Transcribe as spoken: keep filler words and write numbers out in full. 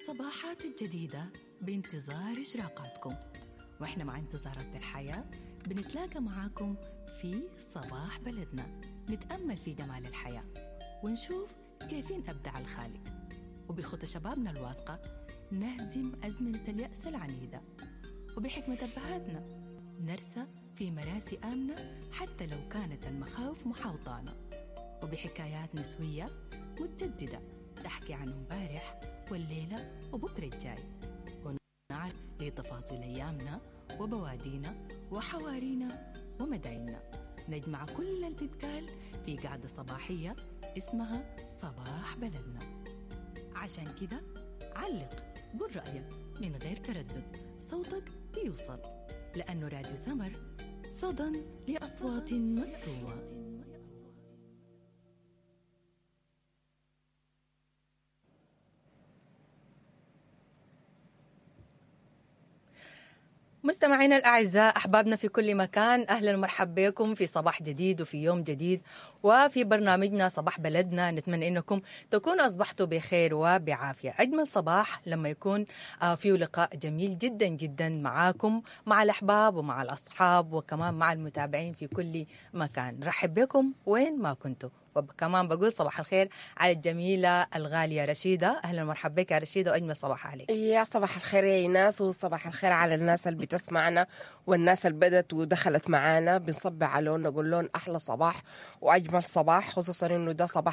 الصباحات الجديدة بانتظار إشراقاتكم، وإحنا مع انتظارات الحياة بنتلاقى معاكم في صباح بلدنا، نتأمل في جمال الحياة ونشوف كيفين أبدع الخالق، وبخطى شبابنا الواثقة نهزم أزمنة اليأس العنيدة، وبحكمة أبهاتنا نرسى في مراسي آمنة حتى لو كانت المخاوف محاوطانا، وبحكايات نسوية متجددة تحكي عن امبارح والليلة وبكرة الجاي، ونعرف لتفاصيل أيامنا وبوادينا وحوارينا ومدايننا. نجمع كل اللي بيتقال في قعدة صباحية اسمها صباح بلدنا. عشان كده علق، قول رأيك من غير تردد، صوتك بيوصل، لأنه راديو سمر صدى لأصوات مكتومة. مستمعينا الأعزاء، أحبابنا في كل مكان، أهلا ومرحبا بكم في صباح جديد وفي يوم جديد وفي برنامجنا صباح بلدنا. نتمنى أنكم تكونوا أصبحتوا بخير وبعافية. أجمل صباح لما يكون فيه لقاء جميل جدا جدا معاكم، مع الأحباب ومع الأصحاب وكمان مع المتابعين في كل مكان. رحب بكم وين ما كنتوا. وكمان بقول صباح الخير على الجميلة الغالية رشيدة. أهلا ومرحبا بك يا رشيدة، وأجمل صباح عليك. يا صباح الخير يا إيناس، وصباح الخير على الناس اللي بتسمعنا والناس اللي بدت ودخلت معانا. بنصب على لون نقول لهم أحلى صباح وأجمل صباح، خصوصا إنه ده صباح